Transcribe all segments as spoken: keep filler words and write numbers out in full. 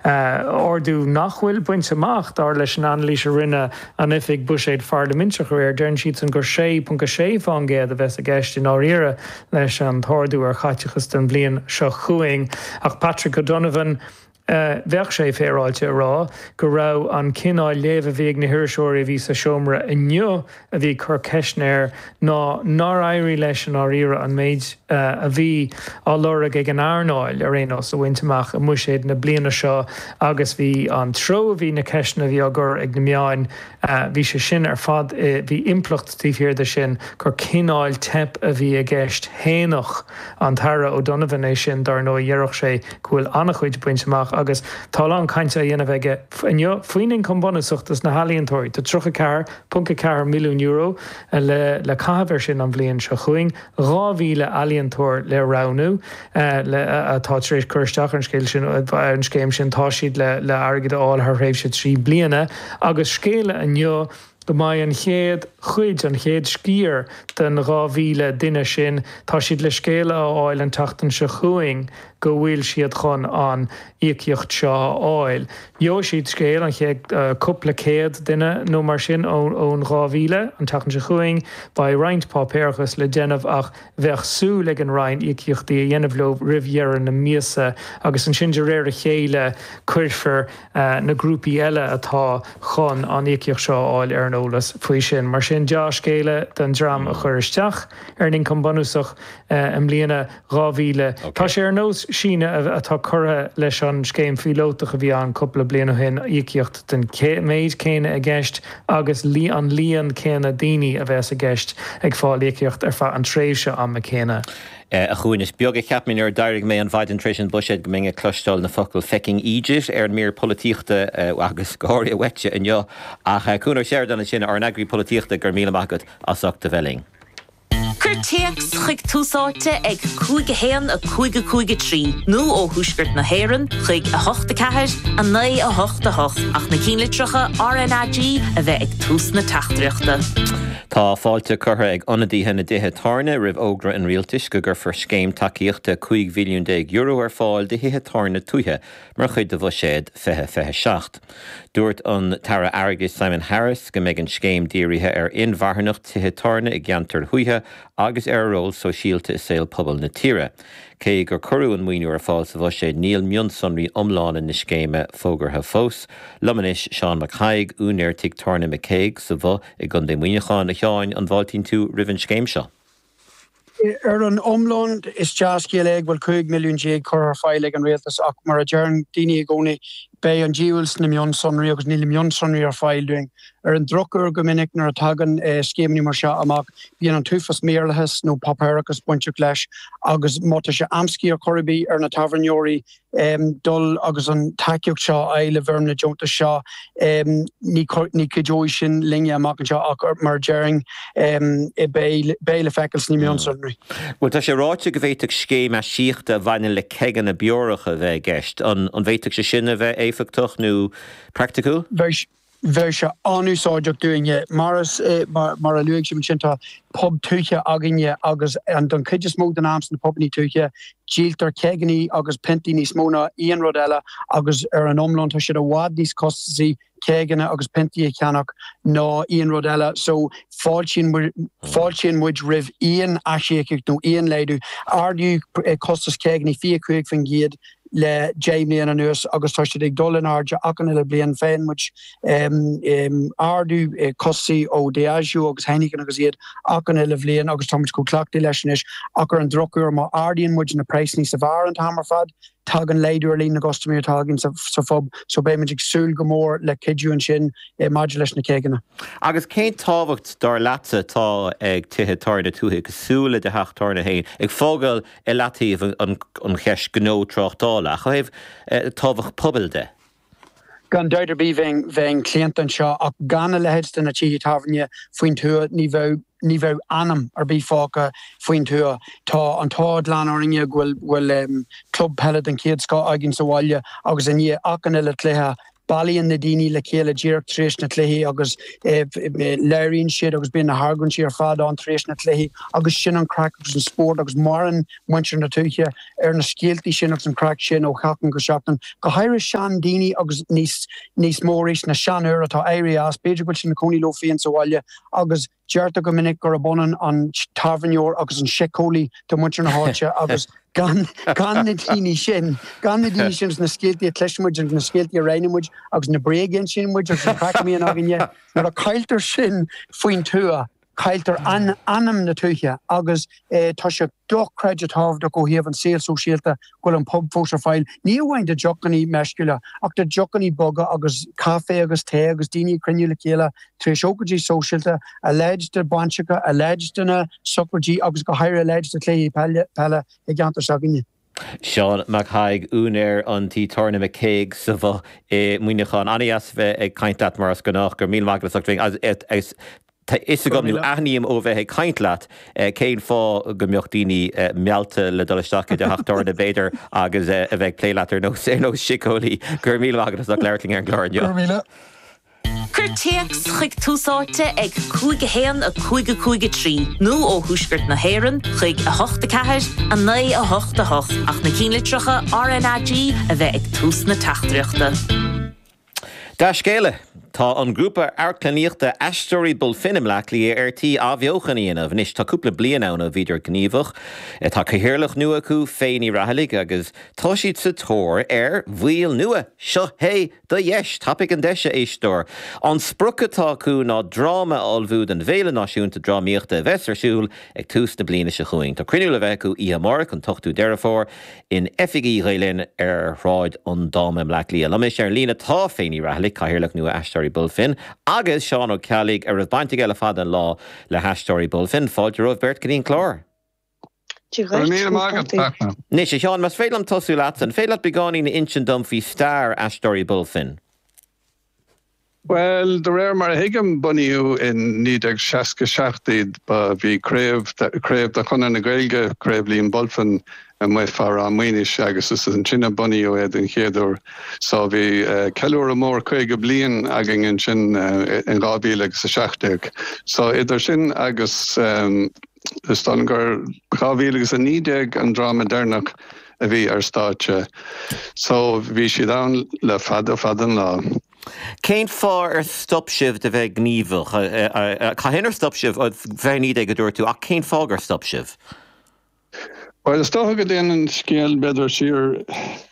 Ardú nach bhfuil bainte amach dar leis an anailís a rinne an Oifig Buiséid Pharlaiminteach aréir, deireann siadsan gur sé ponc a sé faoin gcéad a bheas i gceist i ndáiríre leis an t-ardú ar chaiteachas don bhliain seo chugainn. Ach Patrick O'Donovan, bheadh sé féaráilte a rá go raibh an cineál léamh a bhí ag na hiriseoirí a bhí sa seomra inniu a bhí ag cur ceisteanna air ná nár éirigh leis i ndáiríre an méid a bhí á lorg ag an earnáil ar aon nós a bhaint amach i mbuiséad na bliana seo agus bhí an treo a bhí na ceisteanna a bhí á gcur ag na meáin, bhí sé sin ar fad, bhí impleacht taobh thiar de sin gur cineál teip a bhí i gceist. Shéanfadh an tAire O'Donovan é sin dar ndóigh, déarfadh sé go bhfuil an-chuid bainte amach agus tá a lán cainte á dhéanamh aige inniu faoin ioncam bunúsach dos na healaíontóirí. Tá tríocha ceathair ponc a ceathair milliún euro le le caitheamh air sin an bhliain seo chugainn, dhá mhíle ealaíontóir le roghnú le atá tar éis cur isteach ar an scéal sin ar an scéim sin. Tá siad le le airgead a fháil thar thréimhse trí bliana agus scéala inniu go mbeidh an chéad chuid, an chéad sciar den dhá mhíle duine sin, tá siad le scéala a fháil an tseachtain seo chugainn go bhfuil siad chun an íocaíocht seo a fháil. Gheobhaidh siad scéal, an chéad cúpla céad duine nó mar sin ón dhá mhíle, an tseachtain seo chugainn. Beidh roinnt páipéarachas le déanamh ach bheadh súil ag an Roinn íocaíochtaí a dhéanamh leo roimh dheireadh na míosa agus ansin de réir a chéile cuirfear na grúpaí eile atá chun an íocaíocht seo a fháil ar an eolas faoi sin. Mar sin, dea-scéala don dream a chuir isteach ar an ioncam bunúsach i mbliana, dhá mhíle. Tá sé ar nós síneadh atá curtha leis an scéim phíolótach a bhí ann cúpla bliain ó shin, íocaíocht den méid céanna i gceist agus an líon céanna daoine a bheas i gceist ag fáil íocaíocht ar feadh an tréimhse ama céanna. A Chuain, is beag a cheap mé nuair a d'éirigh mé an mhaidin tar éis an buiséid go mbeinn ag cloisteáil na focail 'fecking eejit' ar an mír polaitíochta agus go háirithe uaitse inniu. Ach Cuan Ó Seireadáin ansin, ár n-eagraí polaitíochta, go raibh míle maith agat as ucht a bheith linn. Cuir téacs chuig Tús Áite ag cúig a haon a cúig a cúig a trí nó ó Thuaisceart na hÉireann chuig a hocht a ceathair a naoi a hocht a hocht ach na cinnlitreacha R N A G a bheith ag tús na teachtaireachta. Tá fáilte curtha ag ionadaithe na dtithe tábhairne roimh fhógra an rialtais go gcuirfear scéim tacaíochta cúig mhilliún déag euro ar fáil do thithe tábhairne tuaithe mar chuid de Bhuiséad fiche fiche seacht. Dúirt an tAire Airgeadais Simon Harris go mbeidh an scéim dírithe ar inmharthanacht tithe tábhairne i gceantair thuaithe agus ar a ról sóisialta i saol pobail na tíre. Cé gur cuireadh an maoiniú ar fáil sa bhuiséad, níl mionsonraí iomlána na scéime fógartha fós. Liom anois Seán Mac Thaidhg, úinéir tigh tábhairne McCaig sa Bhoth i gContae Mhuineacháin. A Sheáin, an bhfáiltíonn tú roimh an scéim seo? Ar an iomlán, is dea-scéal é go bhfuil cúig milliún déag curtha ar fáil ag an rialtas ach mar a deireann daoine i gcónaí, beidh an diabhal sna mionsonraí agus níl na mionsonraí ar fáil dúinn. Ar an drochuair, go minic nuair a tagann scéimeanna mar seo amach, bíonn an t-uafás maorlathas nó páipéarachas bainteach leis agus má tá sé amscaí ar chor ar bith ar na tábhairneoirí dul agus an tacaíocht seo a fháil i bhfoirm na deontas seo, ní chuideoidh sin linne amach anseo ach mar a déarfainn beidh le feiceáil sna mionsonraí. Bhuel, tá sé ráite go bhféadfadh scéim aisíochta a bhaineann le ceigeanna beoracha a bheith i gceist. An bhféadfadh sé sin a bheith éifeachtach nó praiticiúil? Bheadh sé an-úsáideach dúinne. Mar mar a luaigh sibh ansin, tá pub tuaithe againne agus don chuid is mó den am sna pubanna tuaithe, díoltar ceigeanna agus piontaí níos mó ná aon rud eile agus ar an iomlán tá siad i bhfad níos costasaí ceigeanna agus piontaí a cheannach ná aon rud eile. So fáiltíonn fáiltíonn muid roimh aon aisíocaíocht nó aon laghdú. Ardaíodh costas ceigeanna fiche cúig faoin gcéad le deich mbliana anuas agus tá siad ag dul in airde achan uile bliain. Faigheann muid ardú costais ó Diageo agus Heineken agus iad achan uile bhliain agus tá muid chomh cleachtaithe leis anois ach ar an drochuair má ardaíonn muid na praghsanna sa bheár an t-am ar fad, tagann laghdú ar líon na gcustaiméirí atá againn sa phub so beidh muid ag súil go mór le cuidiú ansin maidir leis na ceigeanna. Agus cén tábhacht dar leatsa atá ag tithe tábhairne tuaithe cosúil le do theach tábhairne féin, ag fágáil i leataobh an cheist gnó tráchtála, ach ó thaobh tábhacht pobail de? Gan dabht ar bith bheinn bheinn claonta anseo ach gan a leithéid de na tithe tábhairne faoin tuath ní bheadh ní bheadh anam ar bith fágtha faoin tuath. Tá an t-ádh glan orainne go bhfuil bhfuil club peile den chéad scoth againn sa bhaile agus i ndiaidh achan uile chluiche Bailíonn na daoine le chéile díreach tar éis na cluichí agus labhraíonn siad agus bíonn na hargóintí ar fad ann tar éis na cluichí agus sin an craic agus an spórt agus maireann muintir na tuaithe ar na scéaltaí sin agus an craic sin ó sheachtain go seachtain. Go háirithe seandaoine agus níos níos mó arís na seanfhir atá éirithe as, b'fhéidir go bhfuil siad ina cónaí leo féin sa bhaile agus deirtear go minic gurb ionann an tábhairneoir agus an síceolaí do mhuintir na háite agus gan gan na daoine sin, gan na daoine sin na scéaltaí a chloiseann muid agus na scéaltaí a roinneann muid agus na bréaga a insíonn muid agus an craic a bhíonn againne, nuair a cailltear sin faoin tuath, cailltear anam na tuaithe agus tá sé dochreidte tábhachtach ó thaobh an saol sóisialta go bhfuil an pub fós ar fáil, ní amháin do deochanna meisciúla ach do deochanna boga agus caife agus tae agus daoine ag cruinniú le chéile tar éis ócáidí sóisialta, a leithéid de bainseacha, a leithéid de na sochraidí agus go háirithe a leithéid de chluichí peile i gceantar s'againne. Seán Mac Thaidhg, úinéir an tí tábhairne McCaig sa Bhoth i Muineachán. An-dheas bheith ag caint leat mar is gnách. Go raibh míle maith agat as ucht bheith Tá fhios agam nó aithním ó bheith ag caint leat cén fáth go mbeadh daoine meallta le dul isteach i do theach tábhairne b'fhéidir agus a bheith ag plé leat ar nós ar nós síceolaí. Go raibh míle maith agat as ucht labhairt linn ar an gclár inniu. Go raibh míle. Cuir téacs chuig Tús Áite ag cúig a haon a cúig a cúig a trí nó ó thuaisceart na hÉireann chuig a hocht a ceathair a naoi a hocht a hocht ach na cinnlitreacha RnaG a bheith ag tús na teachtaireachta. Dea-scéala! Tá an grúpa amharclannaíochta Aisteoirí Bulfin i mBleá Cliath ar tí athbheochan a dhéanamh. Anois tá cúpla bliain ann ó bhíodar gníomhach. Tá cathaoirleach nua acu, Faye Ní Raghallaigh, agus tá siad sa tóir ar bhaill nua. Seo é do dheis! Tapaigh an deis, a éisteoir! An sprioc atá acu ná dráma a ullmhú don bhFéile Náisiúnta Drámaíochta a bheas ar siúl ag tús na bliana seo chugainn. Tá cruinniú le bheith acu oíche amárach, an t-ochtú Deireadh Fómhair, in oifigí Ghael Linn ar Shráid an Dáma i mBleá Cliath. Liom anois ar an líne tá Faye Ní Raghallaigh, Cathaoirleach nua Aisteoirí Bulfin, agus Seán Ó Ceallaigh, a raibh baint aige le fada an lá le hAisteoirí Bulfin. Fáilte romhaibh beirt go dtí an clár. Dia dhuit, conas tá tú? Anois, a Sheáin, más féidir liom tosú leatsa, an féidir leat beagáinín a insint dom faoi stair Aisteoirí Bulfin? Bhuel, de réir mar a thuigim, bunaíodh in naoi déag seasca seacht iad. Ba bhí craobh, craobh de Chonradh na Gaeilge, Craobh Liam Bulfin, amuigh fá Ráth Maoinis agus is ansin a bunaíodh é den chéad uair. So bhí ceiliúradh mór caoga bliain againn ansin in dhá mhíle agus a seacht déag. So idir sin agus is dóigh liom gur dhá mhíle agus a naoi déag an dráma deireanach a bhí ar stáitse. So bhí siad ann le fada fada an lá. Cén fáth ar stop sibh de bheith gníomhach? Cathain ar stop sibh? Fiche naoi déag a dúirt tú, ach cén fáth gur stop sibh? Bhuel, is dócha go dtéann an scéal b'fhéidir siar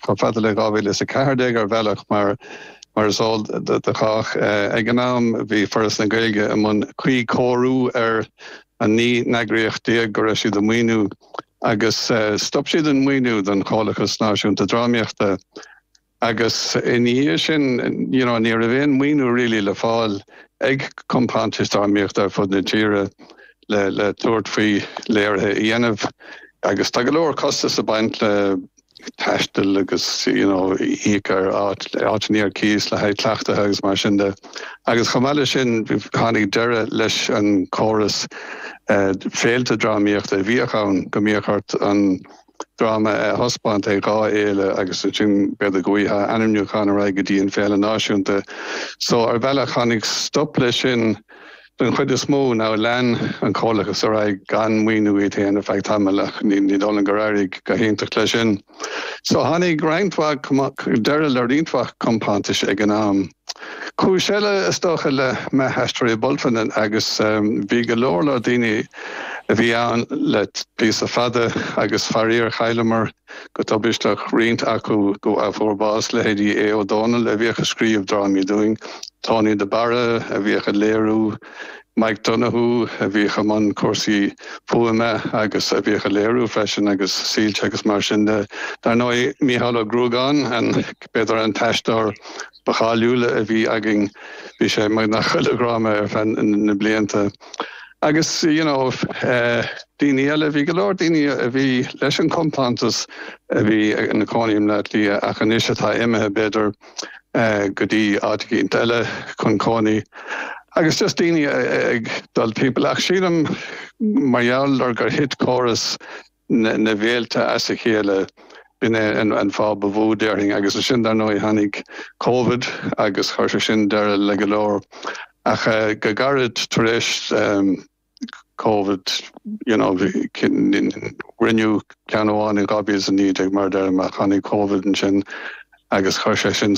chomh fada le dhá mhíle is a ceathair déag ar bhealach mar mar is eol do chách. Ag an am bhí Foras na Gaeilge i mbun cuíchóiriú ar an naoi n-eagraíocht déag go raibh siad ag maoiniú agus stop siad an maoiniú don Chomhlachas Náisiúnta Drámaíochta agus ina dhiaidh sin you know ní raibh aon maoiniú really le fáil ag compántais drámaíochta ar fud na tíre le le tabhairt faoi léirithe a dhéanamh agus tá go leor costas ag baint le taisteal agus you know íoc ar áit áiteanna ar cíos le haghaidh cleachtaithe agus mar sin de. Agus chomh maith leis sin tháinig deireadh leis an chóras féilte drámaíochta a bhíodh ann, go mbíodh ort an dráma a thaispeáint ag dhá fhéile agus ansin b'fhéidir go bhfaighfeá ainmniúchán ar aghaidh go dtí an féile náisiúnta. So ar bhealach tháinig stop leis sin den chuid is mó. Now lean an Comhlachas ar aghaidh gan maoiniú iad féin ar feadh tamaill ach ní dóigh liom gur éirigh go hiontach leis sin. So tháinig roinnt mhaith deireadh le roinnt mhaith compántais ag an am. Cúis eile is dócha le meath Aisteoirí Bulfin agus bhí go leor leor daoine a bhí ann le píosa fada agus faraor chailleamar go tubaisteach roinnt acu go a fuair bás, leithéidí Aodh Ó Dónaill a bhíodh ag scríobh drámaí dúinn, Tony de Barra a bhíodh ag léiriú, Mike Donoghue a bhíodh i mbun cúrsaí fuaime agus a bhíodh ag léiriú freisin agus soilse agus mar sin de. Dar ndóigh Mícheál Ó Gruagáin, an b'fhéidir an t-aisteoir ba cháiliúla a bhí againn, bhí sé i mbun chuile dhráma ar feadh na blianta. Agus you know daoine eile, bhí go leor daoine a bhí leis an chompántas a bhí ina cónaí i mBleá Cliath ach anois atá imithe b'fhéidir go dtí áit eicínt eile chun cónaí. Agus just daoine ag dul timpeall. Ach sílim mar gheall ar gur thit córas na bhféilte as a chéile, B'in é an fáth ba mhó déarfainn agus ansin dar ndóigh tháinig Covid agus chuir sé sin deireadh le go leor ach go gairid tar éis Covid you know rinneadh ceann amháin in dhá mhíle is a naoi déag mar a deirim ach tháinig Covid ansin agus chuir sé sin